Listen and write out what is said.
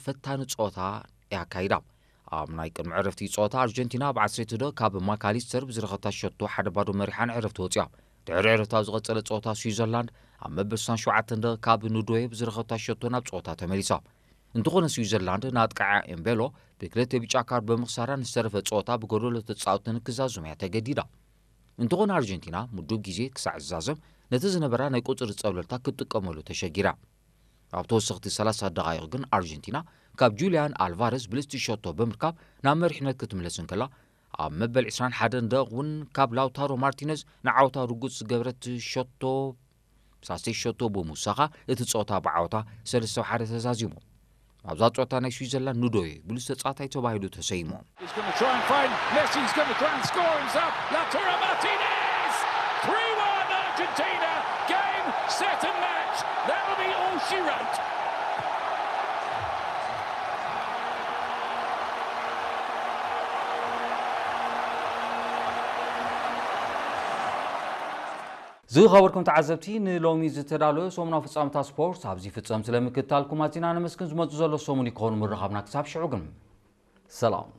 ፈታኒ ጸወታ የካይዳ። ኣብ ናይ ቅድሚ ዕረፍቲ ጸወታ ኣርጀንቲና ኣብ ዓሰርተ ዶ ካብ ማካሊስተር ብዝረኸታ ሸቶ ሓደ ባዶ መሪሓ ንዕረፍቲ ወጺኣ። ድሕሪ ዕረፍቲ ኣብ ዝቐጸለ ጸወታ ስዊዘርላንድ ኣብ መበል ሸውዓተ ዶ ካብ ኑዶየ ብዝረኸታ ሸቶ ናብ ጸወታ ተመሊሳ። እንተኾነ ስዊዘርላንድ ንኣጥቃዓ ኤምቤሎ ብክልተ ቢጫ ካርድ ብምኽሳራ ንዝተረፈ ጸወታ ብጎደሎ ተጻወቲ ንክዛዝም እያ ተገዲዳ። እንተኾነ ኣርጀንቲና ምዱብ ግዜ ክሳዕ ዝዛዘም ነቲ ዝነበራ ናይ ቁጽሪ ጸብለልታ ክትጥቀመሉ ተሸጊራ። ኣብ ተወሰኽቲ ሰላሳ ደቓይቕ ግን ኣርጀንቲና ካብ ጁልያን ኣልቫረዝ ብልስቲ ሸቶ ብምርካብ ናብ መሪሕነት ክትምለስ እንከላ፣ ኣብ መበል ዕስራን ሓደን ደቕ እውን ካብ ላውታሮ ማርቲነዝ ንዓወታ ርጉጽ ዝገበረት ሸቶ ሳሴ ሸቶ ብምውሳኻ እቲ ጸወታ ብዓወታ ሰለስተ ሓደ ተዛዚሙ። ኣብዛ ጸወታ ናይ ስዊዘርላንድ ኑዶይ ብሉጽ ተጻዋታይ ተባሂሉ ተሰይሙ። He's going to try and find Messi. He's going to try and score himself. Lautaro Martinez! three one Argentina. Game, set and match. That'll be all she wrote. ዝኸበርኩም ተዓዘብቲ፣ ንሎሚ ዝተዳለወ ሰሙናዊ ፍጻመታት ስፖርት ኣብዚ ፍጸም። ስለ ምክትታልኩም ኣዚና ነመስግን። ዝመጽእ ዘሎ ሰሙን ይከውን ምርኻብና። ክሳብ ሽዑ ግን ሰላም።